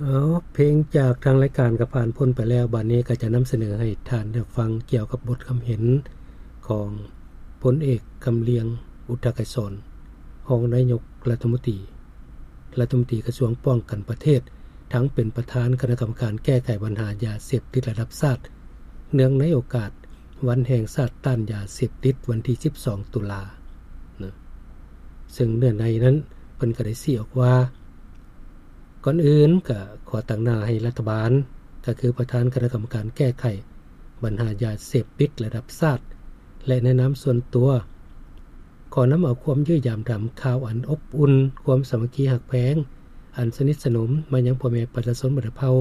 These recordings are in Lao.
ເອົາ ເພງຈາກທາງລາຍການກໍຜ່ານພົ້ນໄປແລ້ວ, ບາດນີ້ກໍຈະນຳສະເໜີໃຫ້ທ່ານໄດ້ຟັງກ່ຽວກັບບົດຄຳເຫັນຂອງພົນເອກ ຄຳລຽງ ອຸດທະກະສອນ ຮອງນາຍົກລັດຖະມົນຕີ ລັດຖະມົນຕີກະຊວງປ້ອງກັນປະເທດ, ທັງເປັນປະທານຄະນະກຳມະການແກ້ໄຂບັນຫາຢາເສບຕິດລະດັບຊາດ, ເນື່ອງໃນໂອກາດວັນແຫ່ງຊາດຕ້ານຢາເສບຕິດ ວັນທີສິບສອງ ຕຸລາ ນະ. ເຊິ່ງເນື້ອໃນນັ້ນເພິ່ນກໍໄດ້ຊີ້ອອກວ່າ, ກ່ອນອື່ນກໍຂໍຕາງໜ້າໃຫ້ລັດຖະບານ, ກໍຄືປະທານຄະນະກຳມະການແກ້ໄຂບັນຫາຢາເສບຕິດລະດັບຊາດ ແລະ ໃນນາມສ່ວນຕົວ, ຂໍນຳເອົາຄວາມເຢື້ອຢາມຖາມຂ່າວອັນອົບອຸ່ນ, ຄວາມສາມັກຄີຮັກແພງອັນສະໜິດສະໜົມມາຍັງພໍ່ແມ່ປະຊາຊົນບັນດາເຜົ່າ,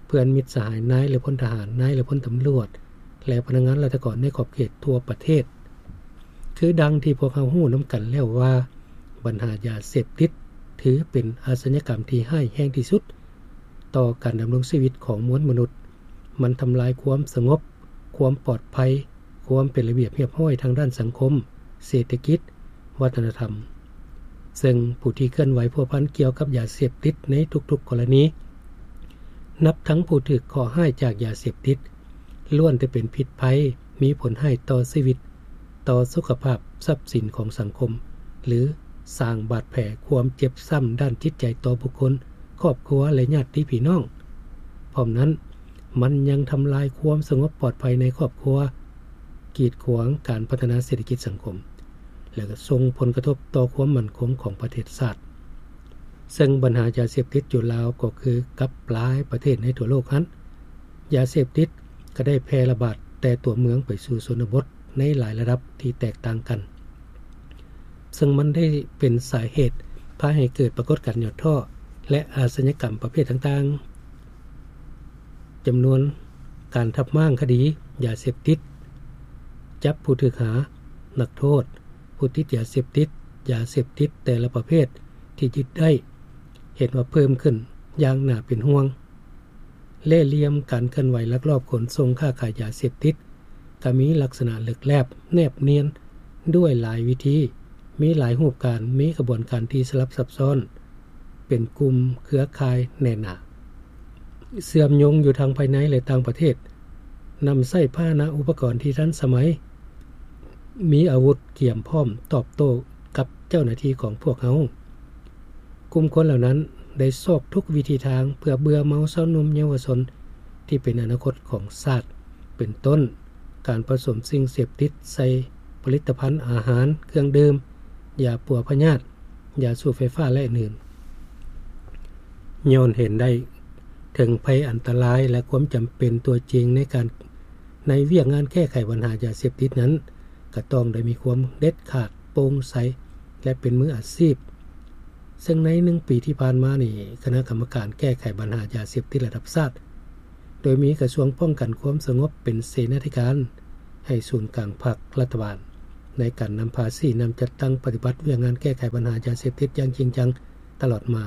ເພື່ອນມິດສະຫາຍນາຍ ແລະ ພົນທະຫານ, ນາຍ ແລະ ພົນຕຳຫຼວດ ແລະ ພະນັກງານລັດຖະກອນໃນຂອບເຂດທົ່ວປະເທດ. ຄືດັ່ງທີ່ພວກເຮົາຮູ້ນຳກັນແລ້ວວ່າ, ບັນຫາຢາເສບຕິດຖືເປັນອາຊະຍາກຳທີ່ຮ້າຍແຮງທີ່ສຸດຕໍ່ການດຳລົງຊີວິດຂອງມວນມະນຸດ. ມັນທຳລາຍຄວາມສະຫງົບ, ຄວາມປອດໄພ, ຄວາມເປັນລະບຽບຮຽບຮ້ອຍທາງດ້ານສັງຄົມ, ເສດຖະກິດ, ວັດທະນະທຳ. ເຊິ່ງຜູ້ທີ່ເຄື່ອນໄຫວພົວພັນກ່ຽວກັບຢາເສບຕິດໃນທຸກໆກໍລະນີ, ນັບທັງຜູ້ຖືກເຄາະຮ້າຍຈາກຢາເສບຕິດ, ລ້ວນແຕ່ເປັນພິດໄພ, ມີຜົນຮ້າຍຕໍ່ຊີວິດ, ຕໍ່ສຸຂະພາບ, ຊັບສິນຂອງສັງຄົມ ຫຼື ສ້າງບາດແຜຄວາມເຈັບຊ້ຳດ້ານຈິດໃຈຕໍ່ບຸກຄົນ, ຄອບຄົວ ແລະ ຍາດຕິພີ່ນ້ອງ. ພ້ອມນັ້ນ, ມັນຍັງທຳລາຍຄວາມສະຫງົບປອດໄພໃນຄອບຄົວ, ກີດຂວາງການພັດທະນາເສດຖະກິດສັງຄົມ ແລະ ກໍສົ່ງຜົນກະທົບຕໍ່ຄວາມໝັ້ນຄົງຂອງປະເທດຊາດ. ເຊິ່ງບັນຫາຢາເສບຕິດຢູ່ລາວກໍຄືກັບຫຼາຍປະເທດໃນທົ່ວໂລກຫັ້ນ, ຢາເສບຕິດກໍໄດ້ແຜ່ລະບາດແຕ່ຕົວເມືອງໄປສູ່ຊົນນະບົດໃນຫຼາຍລະດັບທີ່ແຕກຕ່າງກັນ, ເຊິ່ງມັນໄດ້ເປັນສາເຫດພາໃຫ້ເກີດປາກົດການຫຍໍ້ທໍ້ ແລະ ອາຊະຍາກຳປະເພດຕ່າງໆ. ຈຳນວນການທັບມ້າງຄະດີຢາເສບຕິດ, ຈັບຜູ້ຖືກຫາ, ນັກໂທດ, ຜູ້ຕິດຢາເສບຕິດ, ຢາເສບຕິດແຕ່ລະປະເພດທີ່ຍຶດໄດ້ ເຫັນວ່າເພີ່ມຂຶ້ນຢ່າງໜ້າເປັນຫ່ວງ. ເລ່ຫຼ່ຽມການເຄື່ອນໄຫວລັກລອບຂົນສົ່ງຄ້າຂາຍຢາເສບຕິດ ກໍມີລັກສະນະເລິກແລບ, ແນບນຽນ, ດ້ວຍຫຼາຍວິທີ, ມີຫຼາຍຮູບການ, ມີຂະບວນການທີ່ສະຫຼັບຊັບຊ້ອນ, ເປັນກຸ່ມເຄືອຂ່າຍແໜ້ນໜາ, ເຊື່ອມໂຍງຢູ່ທັງພາຍໃນ ແລະ ຕ່າງປະເທດ, ນຳໃຊ້ພາຫະນະອຸປະກອນທີ່ທັນສະໄໝ, ມີອາວຸດກຽມພ້ອມຕອບໂຕ້ກັບເຈົ້າໜ້າທີ່ຂອງພວກເຮົາ. ກຸ່ມຄົນເຫຼົ່ານັ້ນໄດ້ຊອກທຸກວິທີທາງເພື່ອເບື່ອເມົາຊາວໜຸ່ມເຍົາວະຊົນທີ່ເປັນອະນາຄົດຂອງຊາດ, ເປັນຕົ້ນ ການປະສົມສິ່ງເສບຕິດໃສ່ຜະລິດຕະພັນອາຫານ, ເຄື່ອງດື່ມ, ຢາປົວພະຍາດ, ຢາສູບໄຟຟ້າ ແລະ ອື່ນໆ. ຍ້ອນເຫັນໄດ້ເຖິງໄພອັນຕະລາຍ ແລະ ຄວາມຈຳເປັນຕົວຈິງໃນການ, ໃນວຽກງານແກ້ໄຂບັນຫາຢາເສບຕິດນັ້ນ, ກໍຕ້ອງໄດ້ມີຄວາມເດັດຂາດ, ໂປ່ງໃສ ແລະ ເປັນມືອາຊີບ. ເຊິ່ງໃນໜຶ່ງປີທີ່ຜ່ານມານີ້, ຄະນະກຳມະການແກ້ໄຂບັນຫາຢາເສບຕິດລະດັບຊາດ ໂດຍມີກະຊວງປ້ອງກັນຄວາມສະຫງົບເປັນເສນາທິການໃຫ້ສູນກາງພັກລັດຖະບານ ໃນການນຳພາຊີ້ນຳຈັດຕັ້ງປະຕິບັດວຽກງານແກ້ໄຂບັນຫາຢາເສບຕິດຢ່າງຈິງຈັງຕະຫຼອດມາ.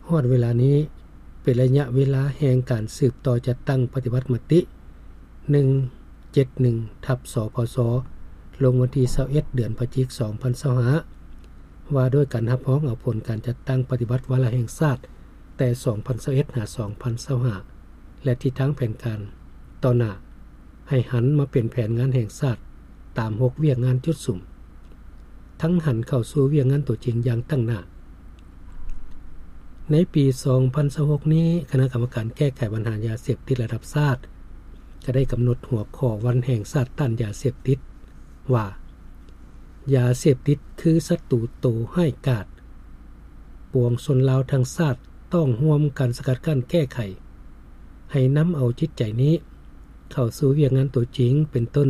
ຮອດເວລານີ້ເປັນໄລຍະເວລາແຫ່ງການສືບຕໍ່ຈັດຕັ້ງປະຕິບັດມະຕິ ໜຶ່ງເຈັດໜຶ່ງ ທັບ ສພສ ລົງວັນທີຊາວເອັດ ເດືອນພະຈິກ ສອງພັນຊາວຫ້າ ວ່າດ້ວຍການຮັບຮອງເອົາຜົນການຈັດຕັ້ງປະຕິບັດວາລະແຫ່ງຊາດ ແຕ່ສອງພັນຊາວເອັດ ຫາ ສອງພັນຊາວຫ້າ ແລະ ທິດທາງແຜນການຕໍ່ໜ້າ ໃຫ້ຫັນມາເປັນແຜນງານແຫ່ງຊາດຕາມຫົກວຽກງານຈຸດສຸມ, ທັງຫັນເຂົ້າສູ່ວຽກງານຕົວຈິງຢ່າງຕັ້ງໜ້າ. ໃນປີສອງພັນຊາວຫົກນີ້, ຄະນະກຳມະການແກ້ໄຂບັນຫາຢາເສບຕິດລະດັບຊາດ ກໍໄດ້ກຳນົດຫົວຂໍ້ວັນແຫ່ງຊາດຕ້ານຢາເສບຕິດວ່າ, ຢາເສບຕິດຄືສັດຕູໂຕຮ້າຍກາດ, ປວງຊົນລາວທັງຊາດຕ້ອງຮ່ວມກັນສະກັດກັ້ນແກ້ໄຂ, ໃຫ້ນຳເອົາຈິດໃຈນີ້ເຂົ້າສູ່ວຽກງານຕົວຈິງ, ເປັນຕົ້ນ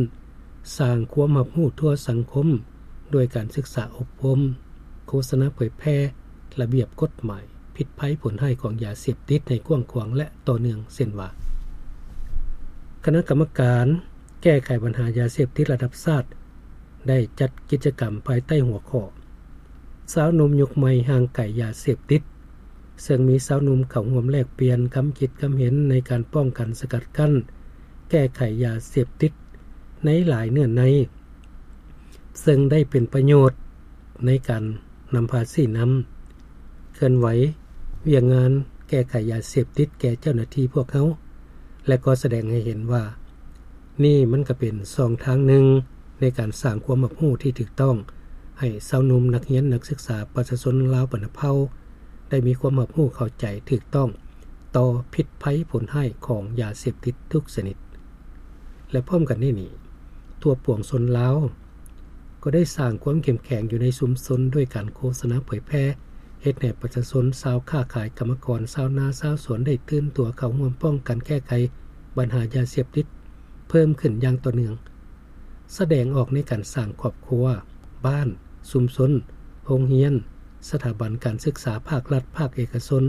ສ້າງຄວາມຮັບຮູ້ທົ່ວສັງຄົມ ດ້ວຍການສຶກສາອົບຮົມ, ໂຄສະນາເຜີຍແຜ່ລະບຽບກົດໝາຍ ພິດໄພຜົນຮ້າຍຂອງຢາເສບຕິດໃຫ້ກວ້າງຂວາງ ແລະ ຕໍ່ເນື່ອງ, ເຊັ່ນວ່າ ຄະນະກຳມະການແກ້ໄຂບັນຫາຢາເສບຕິດລະດັບຊາດ ໄດ້ຈັດກິດຈະກຳພາຍໃຕ້ຫົວຂໍ້ ຊາວໜຸ່ມຍຸກໃໝ່ຫ່າງໄກຢາເສບຕິດ, ເຊິ່ງມີຊາວໜຸ່ມເຂົ້າຮ່ວມແລກປ່ຽນຄຳຄິດຄຳເຫັນໃນການປ້ອງກັນ, ສະກັດກັ້ນ, ແກ້ໄຂຢາເສບຕິດໃນຫຼາຍເນື້ອໃນ, ເຊິ່ງໄດ້ເປັນປະໂຫຍດໃນການນຳພາຊີ້ນຳ ເຄື່ອນໄຫວວຽກງານ ແກ້ໄຂຢາເສບຕິດແກ່ເຈົ້າໜ້າທີ່ພວກເຮົາ ແລະ ກໍສະແດງໃຫ້ເຫັນວ່າ ນີ້ມັນກໍເປັນຊ່ອງທາງໜຶ່ງໃນການສ້າງຄວາມຮັບຮູ້ທີ່ຖືກຕ້ອງ ໃຫ້ຊາວໜຸ່ມ ນັກຮຽນ ນັກສຶກສາ ປະຊາຊົນລາວບັນດາເຜົ່າ ໄດ້ມີຄວາມຮັບຮູ້ເຂົ້າໃຈຖືກຕ້ອງຕໍ່ພິດໄພຜົນຮ້າຍຂອງຢາເສບຕິດທຸກຊະນິດ. ແລະ ພ້ອມກັນນີ້ນີ້ ທົ່ວປວງຊົນລາວ ກໍໄດ້ສ້າງຄວາມເຂັ້ມແຂງຢູ່ໃນຊຸມຊົນດ້ວຍການໂຄສະນາເຜີຍແຜ່ ເຮັດໃຫ້ປະຊາຊົນ, ຊາວຄ້າຂາຍ, ກຳມະກອນ, ຊາວນາ, ຊາວສວນ ໄດ້ຕື່ນຕົວເຂົ້າຮ່ວມປ້ອງກັນແກ້ໄຂບັນຫາຢາເສບຕິດເພີ່ມຂຶ້ນຢ່າງຕໍ່ເນື່ອງ, ສະແດງອອກໃນການສ້າງຄອບຄົວ, ບ້ານ, ຊຸມຊົນ, ໂຮງຮຽນ, ສະຖາບັນການສຶກສາພາກລັດ, ພາກເອກະຊົນ,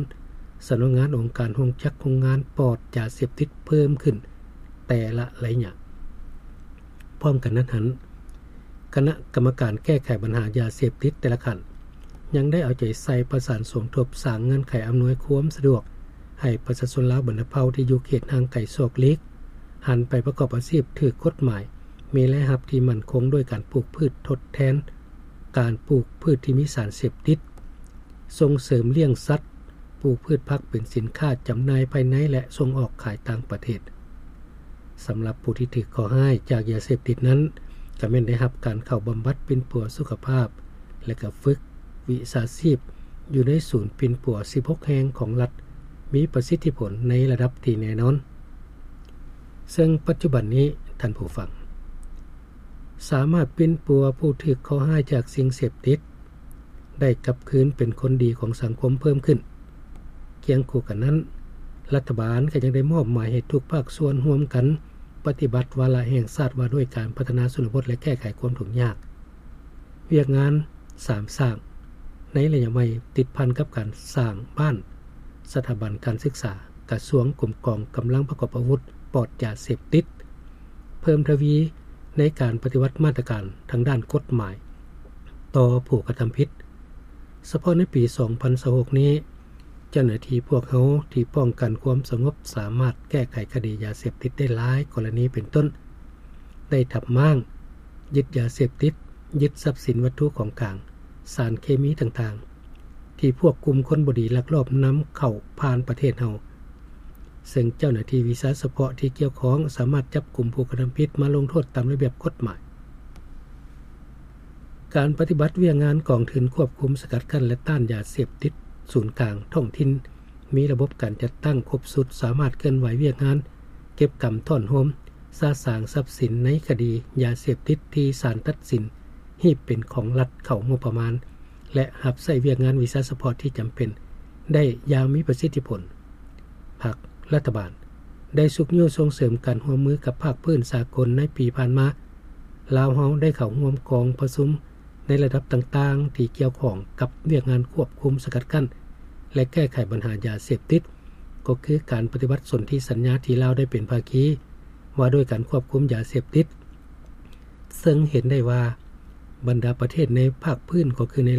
ສຳນັກງານ, ອົງການ, ໂຮງຈັກ, ໂຮງງານປອດຢາເສບຕິດເພີ່ມຂຶ້ນແຕ່ລະໄລຍະ. ພ້ອມກັນນັ້ນຫັ້ນ, ຄະນະກຳມະການແກ້ໄຂບັນຫາຢາເສບຕິດແຕ່ລະຂັ້ນ ຍັງໄດ້ເອົາໃຈໃສ່ປະສານສົມທົບສ້າງເງື່ອນໄຂອຳນວຍຄວາມສະດວກໃຫ້ປະຊາຊົນລາວບັນດາເຜົ່າທີ່ຢູ່ເຂດຫ່າງໄກສອກຫຼີກ ຫັນໄປປະກອບອາຊີບຖືກກົດໝາຍ, ມີລາຍຮັບທີ່ໝັ້ນຄົງດ້ວຍການປູກພືດທົດແທນການປູກພືດທີ່ມີສານເສບຕິດ, ສົ່ງເສີມລ້ຽງສັດ, ປູກພືດຜັກເປັນສິນຄ້າຈຳໜ່າຍພາຍໃນ ແລະ ສົ່ງອອກຂາຍຕ່າງປະເທດ. ສຳລັບຜູ້ທີ່ຖືກເຄາະຮ້າຍຈາກຢາເສບຕິດນັ້ນ ກໍແມ່ນໄດ້ຮັບການເຂົ້າບຳບັດປິ່ນປົວສຸຂະພາບ ແລະ ກໍຝຶກວິຊາຊີບຢູ່ໃນສູນປິ່ນປົວສິບຫົກແຫ່ງຂອງລັດ ມີປະສິດທິຜົນໃນລະດັບທີ່ແນ່ນອນ. ເຊິ່ງປັດຈຸບັນນີ້ ທ່ານຜູ້ຟັງ ສາມາດປິ່ນປົວຜູ້ຖືກເຄາະຮ້າຍຈາກສິ່ງເສບຕິດ ໄດ້ກັບຄືນເປັນຄົນດີຂອງສັງຄົມເພີ່ມຂຶ້ນ. ຄຽງຄູ່ກັນນັ້ນ, ລັດຖະບານກໍຍັງໄດ້ມອບໝາຍໃຫ້ທຸກພາກສ່ວນຮ່ວມກັນປະຕິບັດວາລະແຫ່ງຊາດວ່າດ້ວຍການພັດທະນາຊົນນະບົດ ແລະ ແກ້ໄຂຄວາມທຸກຍາກ. ວຽກງານສາມສ້າງ ໃນໄລຍະໃໝ່ ຕິດພັນກັບການສ້າງບ້ານ, ສະຖາບັນການສຶກສາ, ກະຊວງ, ກົມກອງ, ກຳລັງປະກອບອາວຸດ, ປອດຢາເສບຕິດ, ເພີ່ມທະວີໃນການປະຕິບັດມາດຕະການທາງດ້ານກົດໝາຍຕໍ່ຜູ້ກະທຳຜິດ. ສະເພາະໃນປີສອງພັນຊາວຫົກນີ້, ເຈົ້າໜ້າທີ່ພວກເຮົາທີ່ປ້ອງກັນຄວາມສະຫງົບສາມາດແກ້ໄຂຄະດີຢາເສບຕິດໄດ້ຫຼາຍກໍລະນີ ເປັນຕົ້ນ ໄດ້ທັບມ້າງ, ຍຶດຢາເສບຕິດ, ຍຶດຊັບສິນວັດຖຸຂອງກາງ, ສານເຄມີຕ່າງໆ ທີ່ພວກກຸ່ມຄົນບໍ່ດີລັກລອບນຳເຂົ້າຜ່ານປະເທດເຮົາ, ເຊິ່ງເຈົ້າໜ້າທີ່ວິຊາສະເພາະທີ່ກ່ຽວຂ້ອງສາມາດຈັບກຸມຜູ້ກະທຳຜິດມາລົງໂທດຕາມລະບຽບກົດໝາຍ. ການປະຕິບັດວຽກງານກອງທຶນຄວບຄຸມ, ສະກັດກັ້ນ ແລະ ຕ້ານຢາເສບຕິດສູນກາງທ້ອງຖິ່ນ ມີລະບົບການຈັດຕັ້ງຄົບຊຸດ, ສາມາດເຄື່ອນໄຫວວຽກງານເກັບກຳ, ທ້ອນໂຮມ, ສະສາງຊັບສິນໃນຄະດີຢາເສບຕິດທີ່ສານຕັດສິນຮີບເປັນຂອງລັດເຂົ້າງົບປະມານ ແລະ ຮັບໃຊ້ວຽກງານວິຊາສະເພາະທີ່ຈຳເປັນໄດ້ຢ່າງມີປະສິດທິຜົນ. ພັກລັດຖະບານໄດ້ຊຸກຍູ້ສົ່ງເສີມການຮ່ວມມືກັບພາກພື້ນສາກົນ. ໃນປີຜ່ານມາ, ລາວເຮົາໄດ້ເຂົ້າຮ່ວມກອງປະຊຸມໃນລະດັບຕ່າງໆທີ່ກ່ຽວຂ້ອງກັບວຽກງານຄວບຄຸມ, ສະກັດກັ້ນ ແລະ ແກ້ໄຂບັນຫາຢາເສບຕິດ, ກໍຄືການປະຕິບັດສົນທິສັນຍາທີ່ລາວໄດ້ເປັນພາຄີວ່າດ້ວຍການຄວບຄຸມຢາເສບຕິດ, ເຊິ່ງເຫັນໄດ້ວ່າບັນດາປະເທດໃນພາກພື້ນ ກໍຄືໃນ